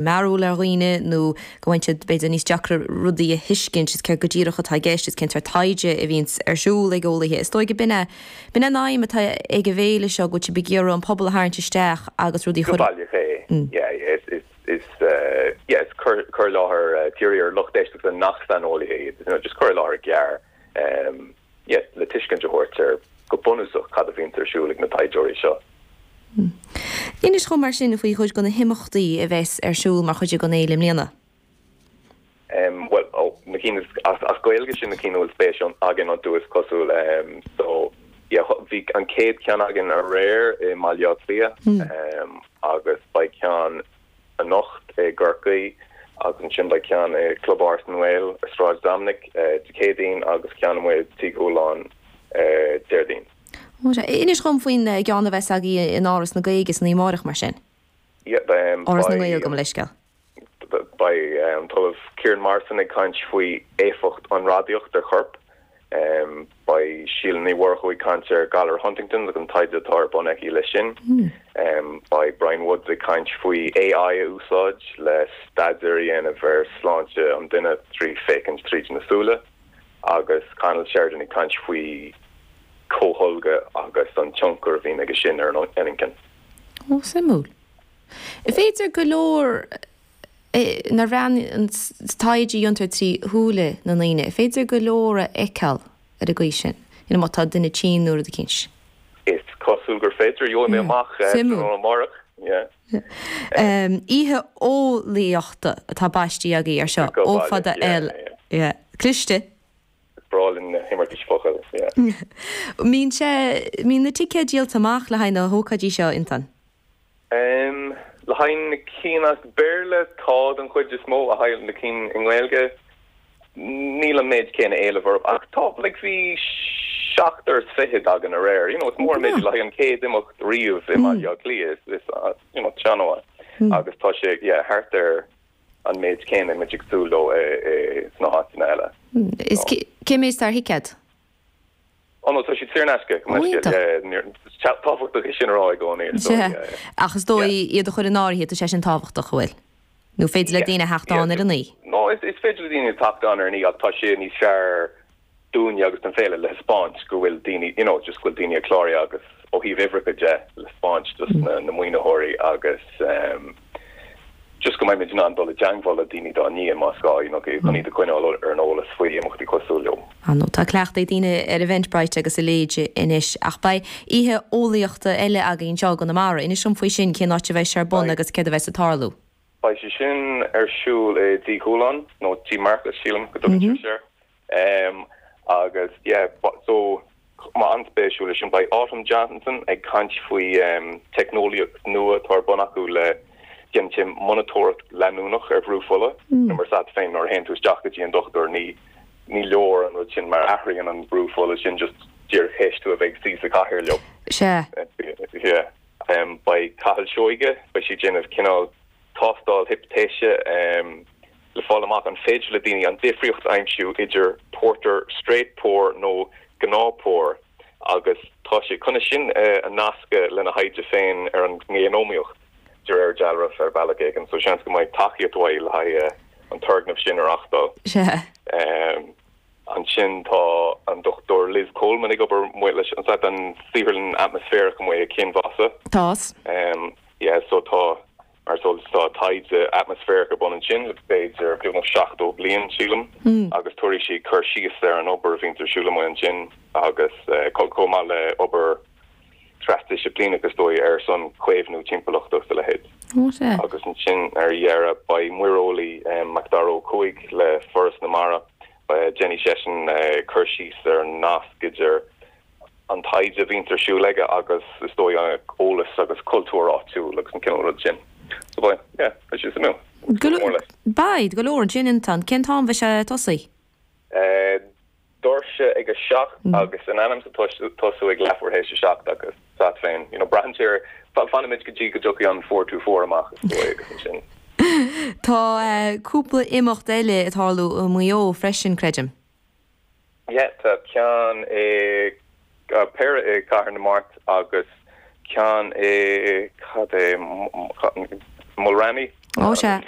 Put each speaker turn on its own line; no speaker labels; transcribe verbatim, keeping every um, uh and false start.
mearúil ar dhaoine nó go bhfuil siad b'fhéidir níos deacra rudaí a thuiscint is céard go díreach atá i gceist is cén sórt taighde a bhíonns ar siúl ag eolaithe. Is dóigh b'in é b'in é an aidhm atá ag an bhféile seo go bhfuil sibh ag iarraidh an pobal a tharraingt isteach agus rudaí
Go
chur
baileach é. Yeah, yeah, is is is uh, yeah, is cur cur i láthair uh, dírithe ar lucht éisteachta nach saineolaithe iad, you know, just cur i láthair gearr um, yeah, le tuiscint a thabhairt ar go bunúsach cad a bhíonn ar siúl ag na taighdeoirí seo.
Inis dom mar sin faoi chuid de na himeachtaí a bheas ar siúl mar chuid den fhéile i mbliana.
Um, well, oh, na cinn as, as Gaeilge sin na cinn a bhfuil spéis againn iontu is cosúil um, so yeah, bhí an chéad cheann againn aréir i mBaile Átha Cliath
Mm.
um, agus beidh ceann anocht i gCorcaigh agus ansin beidh ceann i Club Áras na nGael ar Sráid Dominic uh, Dé Céadaoin agus ceann amuigh Tigh Chualáin uh, Déardaoin.
Ó, sé, Inis dom faoin eh, gceann a bheas agaibh in Áras na Gaeilge san amárach mar sin.
Yeah, um,
Áras na
beidh-
nGael gabh mo leithscéal.
beidh um, Ollamh Kieran Morrison ag caint faoi éifeacht an radaíocht ar chorp. Um, beidh Síle Ní Mhurchú ag caint ar galar Huntington agus an taighde atá ar bun aici leis sin. Um, beidh Brian Woods ag caint faoi AI a úsáid le staidéar a dhéanamh ar sláinte an duine trí féachaint tríd na súile agus Conall Sheridan ag caint faoi comhtholgadh agus an tionchar a bhíonn aige sin ar an inchinn.
Ó suimiúil. Féidir go leor eh, na ran an taighde a dhéantar trí shúile na ndaoine, féidir go leor a fheiceáil ar an gcaoi sin, ina má tá duine tinn nuair a cins.
Is cosúil gur féidir jo mé
Yeah,
amach eh,
suimiúil.
amárach. Yeah.
Um, Oíche eolaíochta atá baiste agaibh ar seo
Go
ó
baileach,
fada
yeah,
L
yeah.
yeah. Cliste.
Breá linn na himeartais focal. Yeah.
Mbíonn sé mbíonn na ticéid díolta amach le haghaidh na hócáidí seo intan.
Um, le haghaidh na cinn as Béarla tá an chuid is mó a haghaidh na cinn i nGaeilge níl an méid céanna éilimh orthu ach tá like bhí seachtar is fiche againn aréir you know, it's mór
Oh,
méid le haghaidh an chéad imeacht riamh i mBaile Átha Cliath is, is uh, you know, seanmhaith agus tá sé yeah, thart ar an méid céanna muid ag súil leo sna háiteanna eile.
Is cé méid ar thicéad?
Oh no, tá siad saor in aisce
Ó, iontach.
tábhachtach é sin a rá i gcónaí so,
Se.
yeah, yeah.
Ach is dóigh iad a chur in áirithe tá sé sin tábhachtach bhfuil. Nó féidir le
Yeah,
daoine theacht
yeah.
ann ar an oíche.
No, is, is féidir le daoine teacht ann ar an oíche ach tá sé níos fearr dúinne agus an féile le taispeáint go bhfuil daoine you know, just go bhfuil daoine cláraithe agus ó thaobh uimhreacha de le taispeáint just na, na maoinitheoirí agus um, just go mbeidh muid in ann dul i dteagmháil le daoine dá ndiaidh más gá you know, chun iad a choinneáil ar an eolas faoi imeachtaí cosúil leo.
Á nó tá cleachtadh ag daoine ar Eventbrite agus a leithéid anois ach beidh oíche eolaíochta eile againn seo i gConamara. Inis dom faoi sin cén áit a bheidh sé ar bun
Beidh.
agus céard a bheas ag tarlú.
Beidh sé sin ar siúl i dTigh Chualáin nó Tí Marcus sílim go dtugtar sé. Um, agus yeah, but, so má an-spéisiúil sin beidh Autumn Johnson ag caint faoi um, teicneolaíocht nua atá ar bun acu le déanamh monatóireacht leanúnach ar bhrú fola mm. mar sa féin nuair a théann tú isteach go dtí an dochtúir ní ní leor an rud sin mar athraíonn an brú fola sin just díreach théis tú a bheith suí sa chathaoir leo.
Se
Yeah. Um, beidh Cathal Seoige beidh sé ag déanamh cineál tástáil hipitéise um, le fáil amach an féidir le daoine an difríocht a aimsiú idir porter straight pour nó gnáth pour agus tá sé chun sin uh, a nascadh lena thaighde féin ar an ngéanómaíocht de réir dealraimh ar bhealach éigin, so seans go mbeidh tacaíocht uaidh le haghaidh uh, an turgnamh sin a reáchtáil.
se
Um, ansin tá an Dr Liz Coleman ag obair mu leis an an saotharlann atmaisféarach amuigh i Cinn Mhasa.
Tás
Um, yeah, so tá mar so tá taighde atmaisféarach ar bun ansin le b'fhéidir beagnach seachtó bliain sílim
Mm.
agus tabharfaidh sí cur síos ar an obair a bhíonn ar siúl amuigh ansin agus uh, chomh maith le obair trasdisciplíneach is dóigh ar son caomhnú timpeallachta a leithéid.
Ó se
agus ansin ar deireadh beidh muireolaí um, Macdara Ó Cuaig le Foras na Mara déanfaidh seisean uh, cur síos ar an nasc idir an taighde a bhíonn ar siúl aige agus is dóigh an eolas agus cultúr áitiúil agus an cineál rud sin. So beidh, yeah, beidh sé suimiúil. Mór leis.
Beidh go leor ansin intan cén t-am bheidh sé ag tosú.
Uh, doirse ag a seacht
Mm.
agus in ainm is tosú ag leathuair théis a seacht agus sat féin you know, braitheann fanfaimid go dtí go dtiocfaidh an four two four amach is dóigh agus ansin.
Tá uh, cúpla imeacht eile ag tarlú i Maigh Eo freisin creidim.
Yeah, tá ceann i uh, péire i Cathair na Mart agus ceann i cad é Mulranny
Ó sea.